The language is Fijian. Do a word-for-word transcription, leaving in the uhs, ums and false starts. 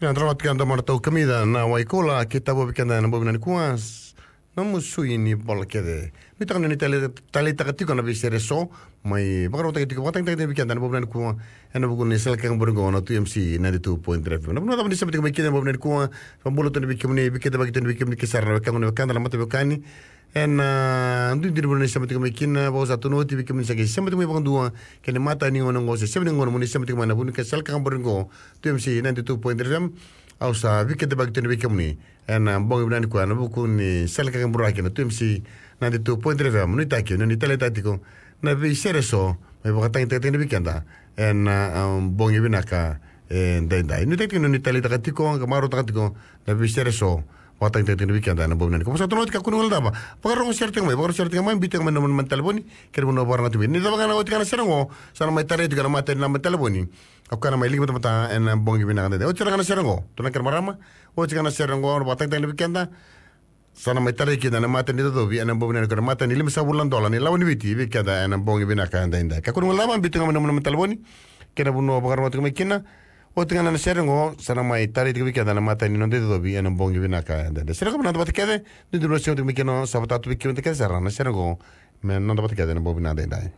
Ia, drava tiko e domo na tau kamica na wai koula, ke tavo vei keda ena bogi vinaka nikua, s-, na musui ni bola kece. Nuitaka ni tale-, taleitaka tiko na veisere eso, mai vakarautaki tiko, vakatagitaki tiko vei keda ena bogi vinaka nikua, ena vuku ni sala kaka borigo na two M C ninety-two point three F M. Na vanua cava ni sema tiko mai kina ena bogi vinaka nikua, vakabula tu vei kemuni, vei keda, vei kemuni, vei kemuni ke sara na wekaqu, na wekada, na mata veiwekani, ena, ah, duidui ni vanua ni sema tiko mai kina, vakaosa tu na oti vei kemuni sa qai sema tiko mai vakadua, kei na imatai ni gauna oqo, se sema ni gauna mo ni sema tiko mai ena vuku ni sala kaka borigo, two M C ninety-two point three F M, au sa vikeitaki tu vei kemuni. Ena bogi vinaka nikua, ena vuku ni sala kaka buraki na two M C ninety-two point three F M, nuitaki, ni taleitaka tiko na veisere eso, mai vakatagitaki tiko vei keda. Ena, ah, bogi vinaka, e, daidai. Nuitaki tiko ni taleitaka tiko, ka marautaka tiko, na veisere eso, vakatagitaki tiko vei keda ena bogi vinaka nikua. Vakaosa tu na oti, kakua ni guilecava. Vakarogo sere tiko mai, vakarogo sere tiko mai, biu tiko mai na nomuni naba ni talevoni, kei na vanua vakarogotaki mai. Ni cava ga na oti ga na sere oqo, sa na mai tarai tiko na imatai ni naba ni talevoni. Au kaya na mai liga batabata ena bogi vinaka daidai. Oti sara ga na sere oqo, turaga kei na marama, oti ga na sere oqo, na vakatagitaki vei keda. Sa na mai tarai kina na imatai ni icocovi ena bogi vinaka nikua, na imatai ni limasagavulu na dola ni lawa ni Viti vei keda ena bogi vinaka daidai. Kakua ni guilecava, biu tiko mai na nomuni naba ni talevoni, kei na vanua vakarogotaki mai kina. Oti ga na sere oqo, sa na mai tarai tiko vei keda na imatai ni noda icocovi ena bogi vinaka daidai. Sere oqo, vinaka vata kece, ni dua na sema tiko mai kina, sa vata tu vei keda kece sara na sere oqo, me noda vata kece ena bogi vinaka daidai.